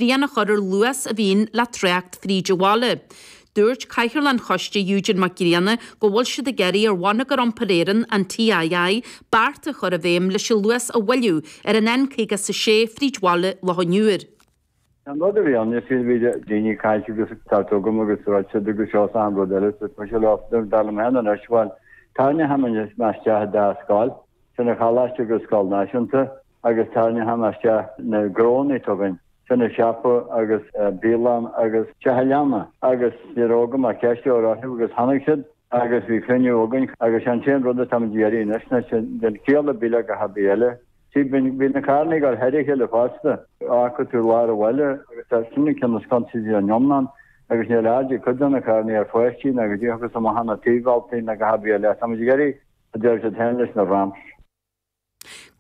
srian a chur ar luas a bhíonn le trácht fríd an bhaile. Dúirt Cathaoirleach an Choiste Eugene Mac Grianna go bhfuil siad ag iarraidh ar Bhonneagar Iompair Éireann, an TII, bearta a chur i bhfeidhm leis an luas a mhoilliú ar an N56 fríd bhaile Loch an Iúir. An rud a bhí ann, is bhí daoine ag caint agus ag teacht chugam agus ag ráit siad agus seo is achan rud eile, so tá sé leo, dar liom féin anois, bhuel, tarraingeoidh mé isteach an dá scoil, sin an choláiste agus scoil náisiúnta, agus tarraingeoidh mé isteach na gnónna atá againn, sin an siopa agus bialann agus teach an leanna agus ní raibh agam ach ceist a chur orthu agus tháinig siad agus bhí cruinniú againn agus an t-aon rud atáimid ag iarraidh anois ná den chiall ar bith le gach ar bith eile. See, bíonn na carranna ag dul thar a chéile fosta, fágfaidh tú lár an bhaile agus tá sin an ceann is consaidí an iomlán agus níl aird ag cuid de na carranna ar pháistí ná go dtí agus amach na taobh-bhealtaí ná gach ar bith eile. Táimid ag iarraidh, a deir siad féin, leis na ramps.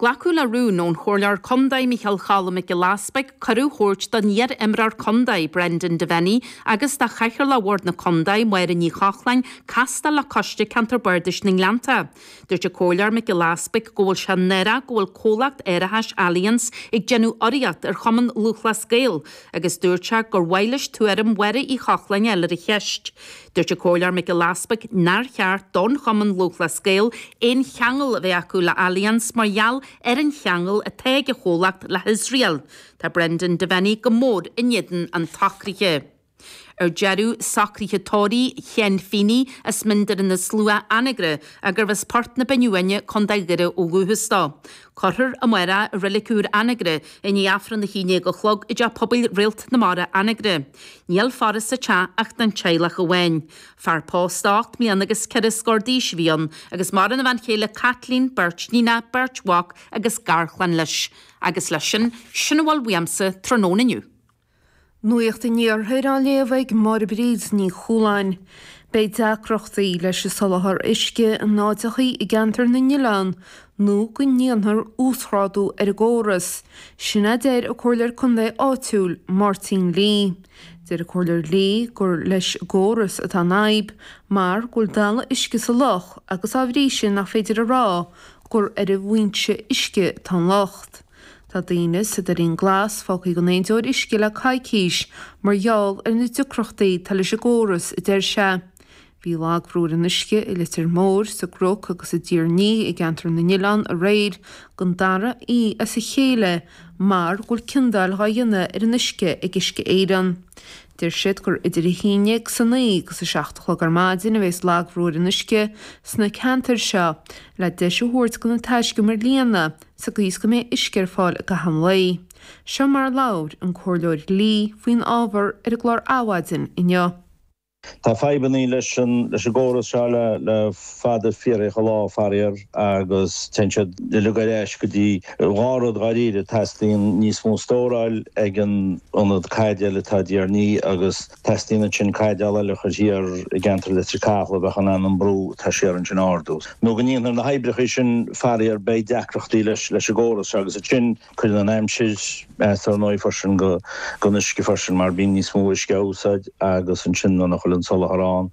Glacadh le rún ón Chomhairleoir Contae Micheál Choilm Mac Giolla Easpaig cuireadh a thabhairt don iar-imreoir contae Brendan Devenney agus do Chathaoirleach Bhord na Contae Máire Ní Chochláin castáil le Coiste Ceantar Bardais na nGleannta. Dúirt an Comhairleoir Mac Giolla Easpaig go bhfuil sé náireach go bhfuil comhlacht árachais Allianz ag déanamh urraíocht ar Chumann Lúthchleas Gael agus dúirt sé gur mhaith leis tuairim Mháire Uí Chochláin a fháil ar an cheist. Dúirt an Comhairleoir Mac Giolla Easpaig nár cheart don Chumann Lúthchleas Gael aon cheangal a bheith acu le Allianz mar gheall ar an cheangal atá ag an chomhlacht le hIosrael. Tá Brendan Devenney go mór in éadan an tsocraithe. Ar deireadh, socruithe tórraimh Sheáin Feeney as Mín Doire na Slua, Anagaire, gurbh as Port na Binne Uaine, Co. Dhoire ó dhúchas dó. Cuirfear amárach i Reilig Úr Anagaire i ndiaidh Aifreann a haon déag a chlog i dTeach Pobail Réalt na Mara, Anagaire. Níl faire sa teach ach don teaghlach amháin. Fear pósta 8 mbliana agus 4 scór d'aois a bhí ann agus maireann a bhean chéile Caitlín, beirt níonach, beirt mhac agus garchlann leis. Agus leis sin, sin a bhfuil uaimse tráthnóna inniu. Nuacht an Iarthair á léamh ag Máire Bríd Ní Chualáin. Beidh deacrachtaí leis an soláthar uisce in áiteachaí i gceantar na nOileán nó go ndéanfar uasghrádú ar an gcóras. Sin a deir an Comhairleoir Contae áitiúil, Máirtín Lee. Deir an Comhairleoir Lee gur leis an gcóras atá an fhadhb mar go bhfuil dalladh uisce sa loch agus á bhrí sin nach féidir a rá gur ar an bhfoinse uisce atá an locht. Tá daoine sa Doirín Glas fágtha gan aon deoir uisce le coicís mar gheall ar na deacrachtaí atá leis an gcóras, a deir sé. Bhí lagbhrú ar an uisce i Leitir Móir, sa gCnoc agus i dTír an Fhia i gCeantar na nOileán aréir don dara oíche as a chéile mar go bhfuil ciondáil dhá dhéanamh ar an uisce ag Uisce Éireann. Deir siad gur idir 11 is 9 agus 7 a chlog ar maidin a bheas lagbhrú ar an uisce sna ceantair seo le deis a thabhairt do na taiscumair líonadh sa gcaoi is go mbeidh uisce ar fáil i gcaitheamh an lae. Seo mar a labhair an Comhairleoir Lee faoin ábhar ar an gclár Adhmhaidin inniu. Tá fadhbannaí leis an leis an gcóras seo le le fada fíorthacha lá, faraor, agus téann siad uilig ar ais go dtí dhá rud dháiríre, teastaíonn níos mó stóráil ag an ionad caidéil atá i dTír an Fhia agus teastaíonn ansin caidéal eile a chur thiar i gceantar Leitir Cathail a bheadh in ann an brú atá siar ansin a ardú. Nó go ndéanfar na hoibreacha sin, faraor, beidh deacrachtaí leis leis an gcóras seo agus ansin Cuireann an aimsir as ar ndóigh freisin don uisce freisin mar bíonn níos mó uisce á úsáid agus ansin nuair nach bhfuil an soláthar ann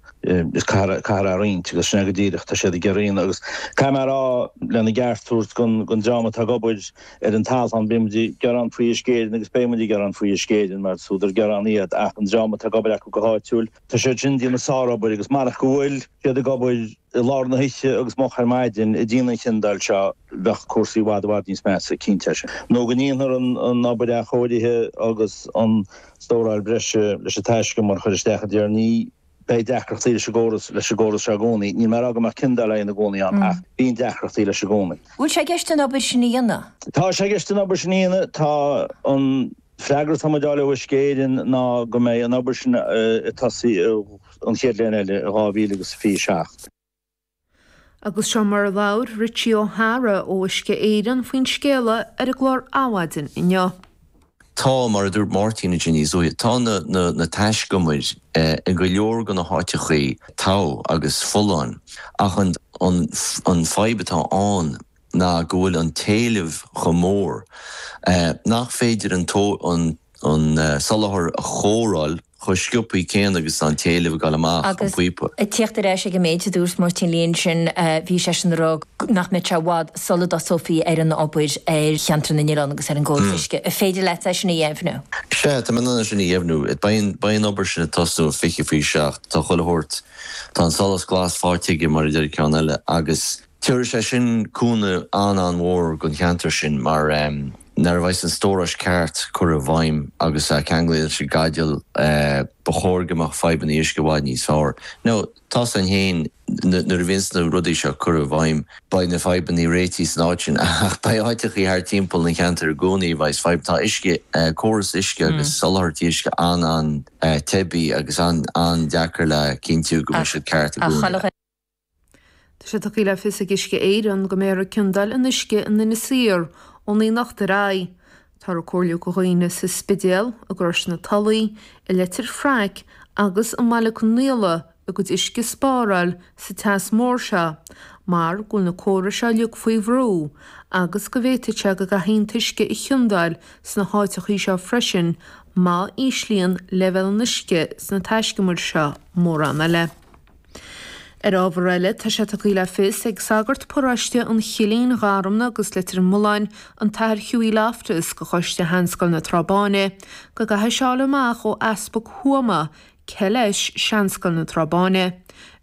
is caithfear é a roinnt agus sin é go díreach tá siad ag iarraidh a dhéanamh agus caithfidh mé a rá lena gceart a thabhairt don dream atá ag obair ar an talamh bíonn muid ag gearán faoi Uisce Éireann agus beidh muid ag gearán faoi Uisce Éireann mar is údar gearán iad ach an dream atá ag obair acu go háitiúil Tá siad sin ag déanamh sárobair agus marach go bhfuil siad ag obair i lár na hoíche agus moch ar maidin ag déanamh an chiondáil seo bheadh cúrsaí i bhfad i bhfad níos measa, cinnte é sin. Nó go ndéanfar an obair athchóirithe agus an stóráil breise leis an taiscumar a chur isteach i dTír an Fhia, beidh deacrachtaí leis an gcóras leis an gcóras seo i gcónaí. Níl mé ag rá go mbeadh ciondáil á dhéanamh i gcónaí ann ach bíonn deacrachtaí leis i gcónaí. Bhfuil sé i gceist an obair sin a dhéanamh? Tá sé i gceist an obair sin a dhéanamh. Tá an. Freagra atá muid a fháil ó Uisce Éireann ná go mbeidh an obair sin ag tosaí an chéad bhliain eile, i 2027. Agus seo mar a labhair Richie O'Hara ó Uisce Éireann faoin scéala ar an gclár Adhmhaidin inniu. Tá, mar a dúirt Máirtín ansin níos luaithe, tá na na taiscumair i go leor de na háiteachaí togha agus folláin ach an an fadhb atá ann ná go bhfuil an t-éileamh chomh mór nach féidir an soláthar a chóireáil. chomh sciobthaí céanna agus atá an t-éileamh ag dul amach an píopa. Agus ag tíocht ar ais ag an méid a dúirt Máirtín Lee ansin, bhí seisean ag rá nach mbeadh sé i bhfad sula dtosófaí ar an obair ar cheantar na nOileán agus ar an gcóras uisce. An féidir leat é sin a dheimhniú? Sea, tá mé in ann é sin a dheimhniú. Beidh an obair sin ag tosnú ag 7:20. Tá chuile shórt, tá an solas glas faighte aige mar a deir ceann eile agus tabharfaidh sé sin cúnamh an-an-mhór don cheantar sin mar nuair a bheas an stóráis ceart curtha i bhfeidhm agus ceanglaithe leis an gcaidéal ba chóir go mbeadh fadhbanna uisce i bhfad níos fearr. Now tá's againn féin nuair a bhíonns na rudaí seo curtha i bhfeidhm beidh na fadhbanna réitithe san áit sin ach beidh áiteachaí thart timpeall an cheantair i gcónaí a bheas fadhb. Tá uisce, córas uisce agus soláthairtí uisce an-an-teibí agus an-an-deacair le cinntiú go mbeidh siad ceart i gcónaí. Tá sé tugtha le fios ag Uisce Éireann go mbeifear ag ciondáil an uisce in Inis Oírr ón anocht ar aghaidh. Táthar ag comhairliú do dhaoine sa Spidéal, i gCrois na Tulaí, i Leitir Fraic agus i mBaile Conaola a gcuid uisce a spáráil sa teas mór seo mar go bhfuil na córais seo uilig faoi bhrú agus go bhféadfadh sé go gcaithfí an t-uisce a chiondáil sna háiteachaí seo freisin má íslíonn leibhéal an uisce sna taiscumair seo mórán eile. Ar ábhar eile, tá sé tugtha le fios ag sagart paróiste an Chillín, Gharmna agus Leitir Mealláin, an tAthair Hughie Loftus, go Choiste Sheanscoil na Trá Báine, go gcaithfidh sé fháil amach ó Easpag Thuama cé leis Seanscoil na Trá Báine.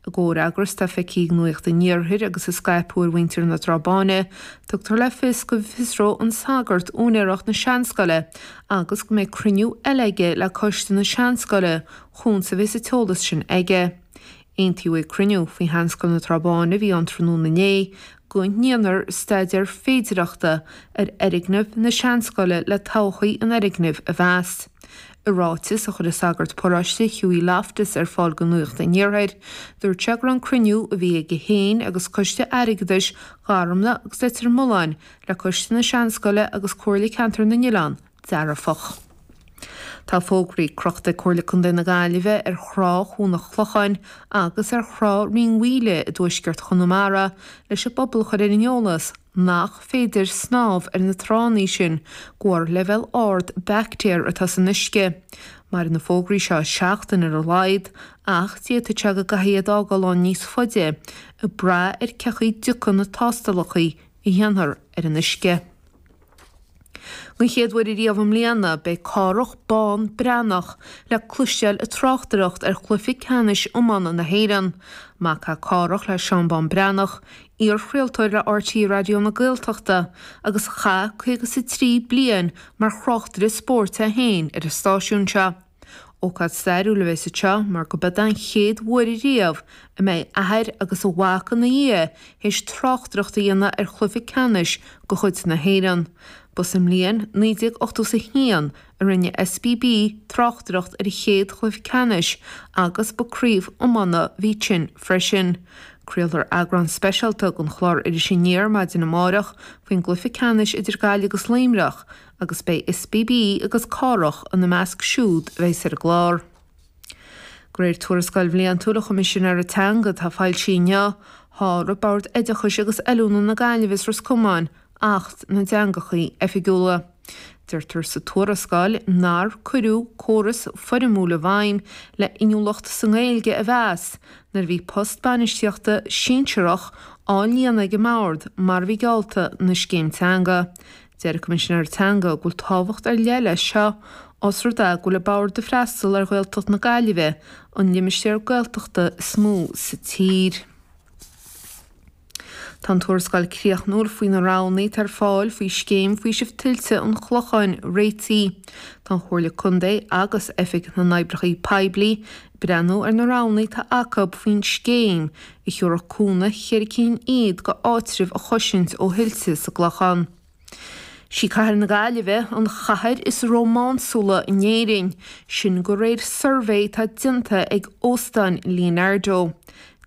I gcomhfhreagras atá feicthe ag Nuacht an Iarthair agus a scaipeadh ar mhuintir na Trá Báine, tugtar le fios go bhfiosróidh an sagart úinéireacht na Seanscoile agus go mbeidh cruinniú eile aige le Coiste na Seanscoile chúns a bheas an t-eolas sin aige. Aontaíodh ag cruinniú faoi Sheanscoil na Trá Báine a bhí ann tráthnóna inné go ndéanfar staidéar féidireachta ar fhoirgneamh na Seanscoile le todhchaí an fhoirgnimh a mheas. I ráiteas a chuir an sagart paróiste Hughie Loftus ar fáil go Nuacht an Iarthair, dúirt sé go raibh an cruinniú a bhí aige féin agus Coiste Airgeadais Gharmna agus Leitir Mealláin le Coiste na Seanscoile agus Comhairle Ceantar na nOileán dearfach. Tá fógraí crochta ag Comhairle Contae na Gaillimhe ar thrá Chuan an Chlocháin agus ar thrá Rinn Mhaoile i dtuaisceart Chonamara leis an bpobal a chur ar an eolas nach féidir snámh ar na tránna sin de bharr leibhéal ard baictéar atá san uisce. Mairfidh na fógraí seo seachtain ar a laghad ach d'fhéadfadh sé go gcaithfí iad a fhágáil ann níos faide, ag brath ar cé chaoi dtiocfaidh na tástálacha a dhéanfar ar an uisce. Don chéad uair ariamh i mbliana, beidh Cárthach Bán Breathnach le cloisteáil ag tráchtaireacht ar chluiche ceannais iomána na hÉireann. Mac é Cárthach le Seán Bán Breathnach, iarchraoltóir le RTÉ Raidió na Gaeltachta, agus a chaith 53 bliain mar thráchtaire spóirt é féin ar an stáisiún seo. Ócáid stairiúil a bheas anseo mar go b'eod an chéad uair riamh a mbeidh athair agus a mhac ina dhiaidh théis tráchtaireacht a dhéanamh ar chluiche ceannais de chuid na hÉireann. Ba sa mbliain 1981 a rinne SBB tráchtaireacht ar an chéad chluiche ceannais agus ba craobh iomána a bhí ansin freisin. Craolfar eagrán speisialta den chlár Iris Aniar maidin amárach faoin gcluiche ceannais idir Gaillimh agus Luimneach agus beidh SBB agus Cárthach ina measc siúd a bheas ar an gclár. De réir tuarascáil bhliantúil an Choimisinéara Teanga atá foilsithe inniu, sháraigh Bord Oideachais agus Oiliúna na Gaillimhe is Ros Comáin Acht na dTeangachaí Oifigiúla. Deirtear sa tuarascáil nár cuireadh córas foirmiúil i bhfeidhm le inniúlacht sa nGaeilge a mheas nuair a bhí post bainistíochta sinsearach á líonadh ag an mBord mar a bhí geallta ina scéim teanga. Deir an Coimisinéir Teanga go bhfuil tábhacht ar leith leis seo os rud é go bhfuil an Bord ag freastal ar Ghaeltacht na Gaillimhe, an limistéar Gaeltachta is mó sa tír. Tá an tuarascáil críochnúil faoi na roghanna atá ar fáil faoi Scéim Faoisimh Tuilte an Chlocháin réitithe. Tá an Chomhairle Contae agus Oifig na nOibreacha Poiblí ag breathnú ar na roghanna atá acu faoin scéim a thiúrfadh cúnamh cheithre cinn fhichead go áitribh a chosaint ó thuilte sa gClochán. Sí cathair na Gaillimhe an chathair is rómánsúla in Éirinn, sin de réir suirbhé atá déanta ag Óstáin Leonardo.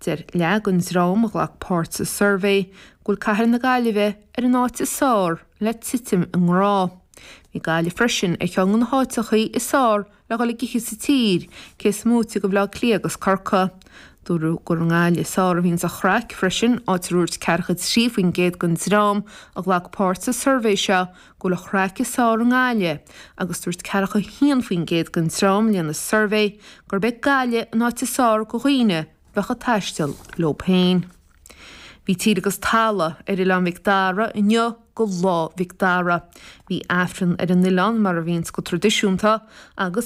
Deir leath den dream a ghlac páirt sa suirbhé go bhfuil cathair na Gaillimhe ar an áit is fearr le titim i ngrá. Bhí Gaillimh freisin ar cheann de na háiteachaí is fearr le dhul ag ithe sa tír, cé is móite de Bhaile Átha Cliath agus Corcaigh. Dúradh gur i nGaillimh is fearr a bhíonns an chraic freisin, áit a ndúirt 43% den dream a ghlac páirt sa suirbhé seo go bhfuil an chraic is fearr i nGaillimh agus dúirt 41% den dream a rinne an suirbhé gurb é Gaillimh an áit is fearr do dhaoine bheadh ag taisteal leo féin. Bhí tír agus talamh ar Oileán Mhic Dara inniu go Lá Mhic Dara. Bhí Aifreann ar an oileán mar a bhíonns go tradisiúnta agus.